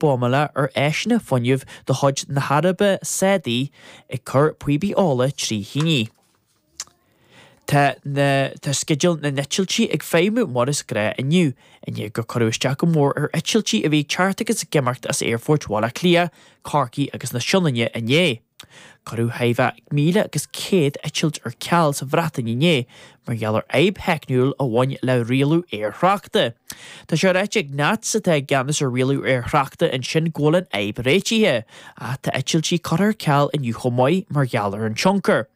Buamála ar áiseanna fuinnimh de chuid na hAraibe Sádaí ag cur píopaí ola trí thine. Tá na tá sceideal na n-eitiltí ag feidhmiú mar is gnáth inniu, i ndiaidh gur cuireadh isteach go mór ar eitiltí a bhí ag teacht agus ag imeacht as aerfoirt Bhaile Átha Cliath, Corcaí agus na Sionainne inné. Cuireadh thart fá 1,100 eitilt ar ceal sa Bhreatain inné mar gheall ar fhadhb theicniúil a bhain le rialú aerthráchta. Tá sé ráite ag NATS, atá i gceannas ar rialú aerthráchta ansin, go bhfuil an fhadhb réitithe, ach tá eitiltí curtha ar ceal inniu chomh maith mar gheall ar an tionchar.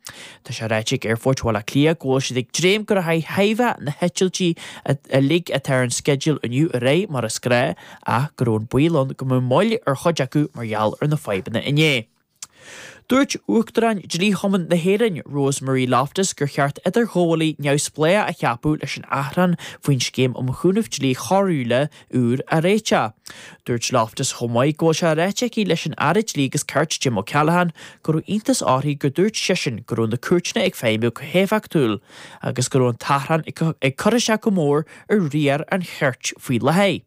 Tá sé ráite ag Aerfort Bhaile Átha Cliath go bhfuil siad ag dréim go rachaidh thart fá na heitiltí uilig atá ar an sceideal inniu ar aghaidh mar is gnáth ach go raibh an baol ann go mbeadh moill ar chuid acu mar gheall ar na fadhbanna inné. Dúirt Uachtarán Dlí-Chumann na hÉireann, Rose Marie Loftus, gur cheart idirghabhálaí neamhspleách a cheapadh leis an achrann faoin Scéim um Chúnamh Dlí Choiriúil úr a réiteach. Dúirt Loftus chomh maith go bhfuil sé ráite aici leis an Aire Dlí agus Cirt Jim O'Callaghan go raibh iontas uirthi gur dúirt seisean go raibh na cúirteanna ag feidhmiú go héifeachtúil agus go raibh an t-achrann ag cur isteach go mór ar riar an chirt faoi láthair.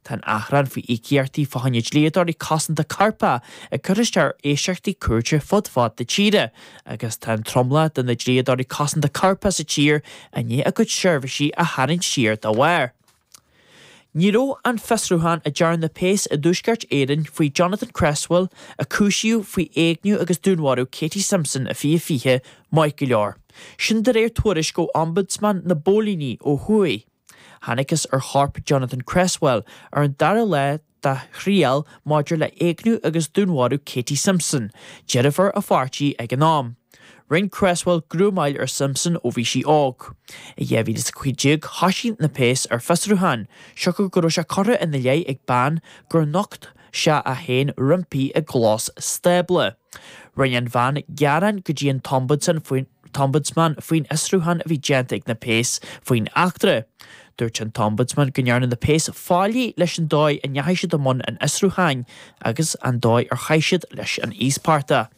Tá an achrann faoi íocaíochtaí fá choinne dlíodóirí cosanta coirpeach ag cur isteach ar éisteachtaí cúirte fud fad na tíre agus tá an tromlach de na dlíodóirí cosanta coirpeach sa tír i ndiaidh a gcuid seirbhísí a tharraingt siar dá bharr. Ní raibh an fiosrúchán a dearna na péas i dTuaisceart Éireann faoi Jonathan Cresswell, a cúisíodh faoi éigniú agus dúnmharú Katie Simpson i 2020, maith go leor. Sin de réir tuairisc ó Ombudsman na bPóilíní ó thuaidh. Thángthas ar chorp Jonathan Cresswell ar an dara lá dá thriail maidir le héigniú agus dúnmharú Katie Simpson, deirfiúr a pháirtí ag an am. Rinne Cresswell grúmáil ar Simpson ó bhí sí óg. I 2015 thoisigh na péas ar fiosrúchán, siocair go raibh sé curtha ina leith ag bean gur nocht sé é féin roimpi i gclós stábla. Rinne an bhean gearán go dtí an tOmbudsman faoin tOmbudsman faoin fhiosrúchán a bhí déanta ag na péas faoin eachtra. Dúirt an tOmbudsman go ndearna na péas faillí leis an dóigh a ndeachaigh siad i mbun an fhiosrúcháin agus an dóigh ar chaith siad leis an íospartach.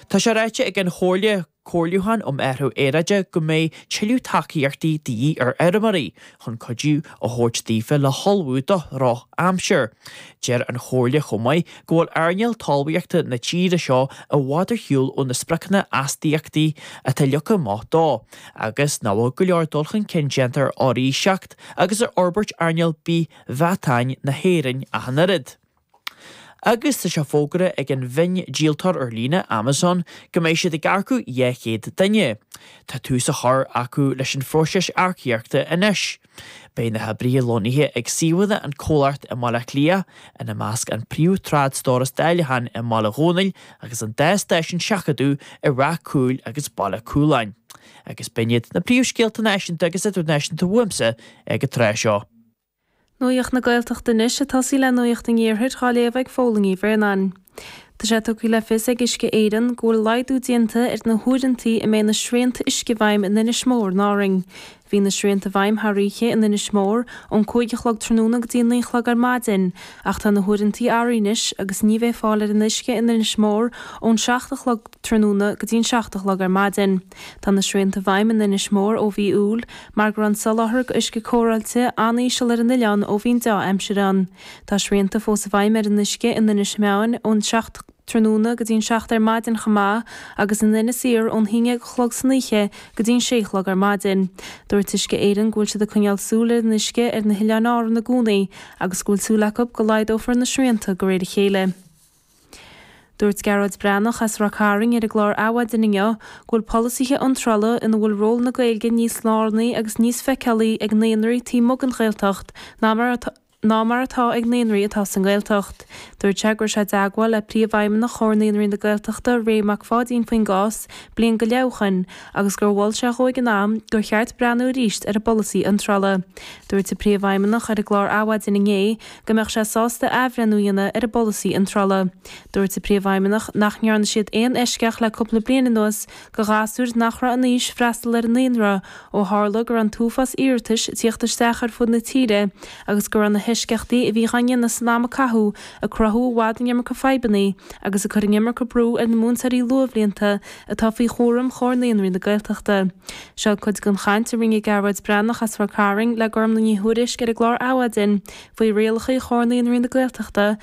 Tá sé ráite ag an Chomhairle Comhairliúcháin um Athrú Aeráide go mbeidh tuilleadh tacaíochtaí de dhíth ar fheirmeoirí chun cuidiú a thabhairt daofa le hullmhú do dhrochaimsir. Deir an Chomhairle chomh maith go bhfuil earnáil talmhaíochta na tíre seo i bhfad ar shiúl ó na spriocanna astaíochtaí atá leagtha amach dó agus nach bhfuil go leor dul chun cinn déanta ar fhoraoiseacht agus ar fhorbairt earnáil bith-mheatáin na hÉireann ach an oiread. Agus tá sé fógartha ag an mhiondíoltóir ar líne, Amazon, go mbeidh siad ag earcú 200 duine. Tá tús á chur acu leis an phróiseas earcaíochta anois. Beidh na hoibrithe lonnaithe ag suíomhanna an chomhlacht i mBaile Átha Cliath, ina measc an príomh-trádstóras dáileacháin i mBaile Dhónaill agus an dá stáisiún seachadadh i Ráth Cúil agus Baile Cúláin. Agus b'in iad na príomhscéalta náisiúnta agus idirnáisiúnta uaimse ag an tráth seo. Nuacht na Gaeltachta anois, ag tosaí le Nuacht an Iarthair dhá léamh ag Fódhla Ní Bhraonáin. Tá sé tugtha le fios ag Uisce Éireann go bhfuil laghdú déanta ar na huaireantaí a mbeidh na srianta uisce i bhfeidhm in Inis Mór in Árainn. Bhí na srianta i bhfeidhm thar oíche in Inis Mór ón 5 a chlog tráthnóna go dtí 9 a chlog ar maidin ach tá na huaireantaí athraithe anois agus ní bheidh fáil ar an uisce in Inis Mór ón 7 a chlog tráthnóna go dtí an 7 a chlog ar maidin. Tá na srianta i bhfeidhm in Inis Mór ó mhí Iúil mar go raibh an soláthar d'uisce cóireáilte an-íseal ar an oileán ó bhí an deá-aimsir ann. Tá srianta fós i bhfeidhm ar an uisce in Inis Meáin ón 7 tráthnóna go dtí an 7 ar maidin chomh maith agus in Inis Oírr ón haon déag a chlog san oíche go dtí an sé a chlog ar maidin. Dúirt Uisce Éireann go bhfuil siad ag coinneáil súil ar an uisce ar na hoileáin Árann i gcónaí agus go bhfuil súil acu go laghdófar na srianta de réir a chéile. Dúirt Gearóid Breathnach as Ráth Cairn ar an gclár Adhmhaidin inniu go bhfuil polasaithe iontrála ina bhfuil ról na Gaeilge níos lárnaí agus níos feiceálaí ag naíonraí taobh amuigh den Ghaeltacht ná mar ná mar atá ag naíonraí atá sa nGaeltacht. Dúirt sé go raibh sé i dteagmháil le Príomhfheidhmeannach Chomhar Naíonraí na Gaeltachta, Ray Mac Pháidín faoin gcás bliain go leith ó shoin agus gur mhol sé dhó ag an am gur cheart breathnú arís ar an bpolasaí iontrála. Dúirt an Príomhfheidhmeannach ar an gclár Adhmhaidin inné go mbeadh sé sásta athbhreithniú a dhéanamh ar an bpolasaí iontrála. Dúirt an Príomhfheidhmeannach nach ndearna siad aon eisceacht le cúpla bliain anuas do ghasúir nach raibh in aois freastal ar an naíonra ó tharla go raibh an t-uafás iarratais ag tíocht isteach ar fud na tíre agus go raibh na. heisceachtaí a bhíodh á ndéanamh san am a caitheadh ag cruthú i bhfad an iomarca fadhbanna agus ag cur an iomarca brú ar na múinteoirí luathbhlianta atá faoi chúram Chomhar Naíonraí na Gaeltachta. Seo cuid den chaint a rinne Gearóid Breathnach as Ráth Cairn le Gormlaith Ní Thuairisg ar an gclár Adhmhaidin faoi rialacha Chomhar Naíonraí na Gaeltachta.